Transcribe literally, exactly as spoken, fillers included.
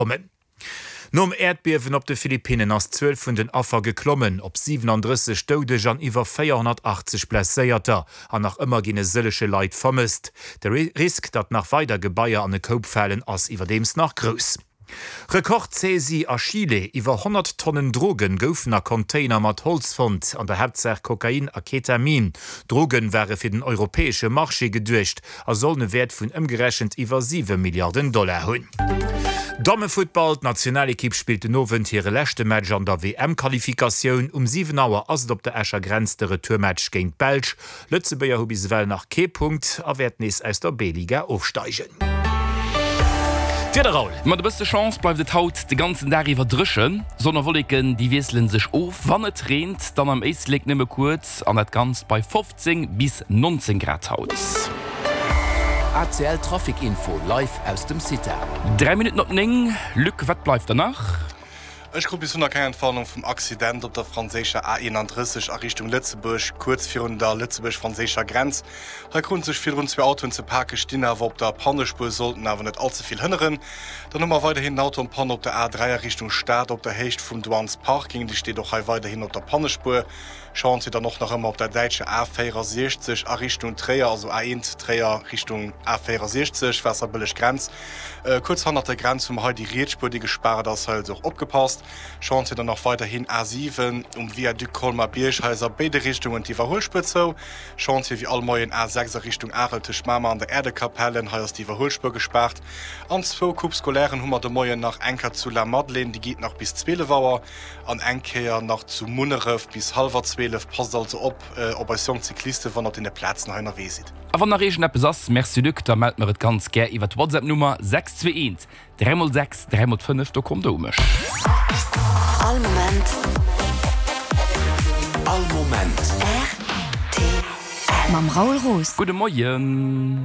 Kommen. Nom Äerdbiewen op de Philippinnen ass d'Zuel vun den Affer geklommen op siwenandrësseg Doudeger an iwwer véierhonnertachtzeg Blesséierter. An nach ëmmer ginn e sëllege Leit vermësst. De Risk, datt nach weider Gebaier an e Koup falen, ass iwwerdeems nach grouss. Rekord-Saisie a Chile, Iwwer honnert Tonnen Drogen goufen a Container mat Holz fonnt, an der Haaptsaach Kokain a Ketamin. D'Droge ware fir den europäesche Marché geduecht a sollen e Wäert vun ëmgerechent iwwer siwe Milliarden Dollar hunn. Dammefuttball, D'Nationalekipp spillt den Owend hire leschte Match an der W M-Qualifikatioun. Um siwen Auer ass et op der Escher Grenz de Retourmatch géint d'Belsch. Lëtzebuerger hu bis ewell nach kee Punkt a wäerten nees aus der B-Liga ofsteigen. D'Wieder, Raoul. Mat e bësse Chance bleift et haut de ganzen Dag iwwer dréchen. Sonn a Wolleken, déi wiessele sech of. Wann et reent, dann am Éislek nëmme kuerz an dat Ganzt bei fofzéng bis nonzéng Grad haut. A C L Trafic Info live aus dem CITA. Dräi Minutten op néng, Luc, wat bleift der nach? Ech krut bis elo nach keng Entwarnung vum Accident op der franséischer A eenandrësseg a Richtung Lëtzebuerg, kuerz virun der lëtzebuerg-franséischer Grenz. Hei kruten sech virdrun zwee Autoen ze pake, stinn awer op der Pannespuer, sollten awer net all ze vill hënneren. Dann hu mer weiderhin en Auto en panne op der A dräi a Richtung Stad op der Héicht vum Douanes Parking, dee steet och hei weiderhin op der Pannespuer. Chantier dann och nach ëmmer op der däitscher A véierasiechzeg a Richtung Tréier, also A eent Tréier Richtung A véierasiechzeg, Waasserbëlleg Grenz. Kuerz hannert der Grenz hu mer hei déi riets Spuer, déi gespaart ass, hei also och opgepasst. Chantier dann och weiderhin A siwen um Viaduc Colmar-Bierg, hei ass a béide Richtungen d'Iwwerhuelspuer zou. Chantier wéi all Moien A sechs a Richtung Arel tëscht Mamer an der Äerdekapellen, hei ass d'Iwwerhuelspuer gespaart. An zwou Coupe scolairen hu mer de Moien nach, eng Kéier zu Lamadelaine, déi geet nach bis zwielef Auer, an eng Kéier nach zu Munneref bis hallwer zwielef. Passt also op op eis jonk Cyclisten, wann der op deene Plazen hei ënnerwee sidd. A wann nach iergendeppes ass, Merci Luc, da mellt mer et ganz gär iwwer d'WhatsApp-Nummer sechs zwee eent dräi mol sechs dräi mol fënnef, do kommt der u mech. All Moment. All Moment. R T L. Mam Raoul Roos. Gudde Moien.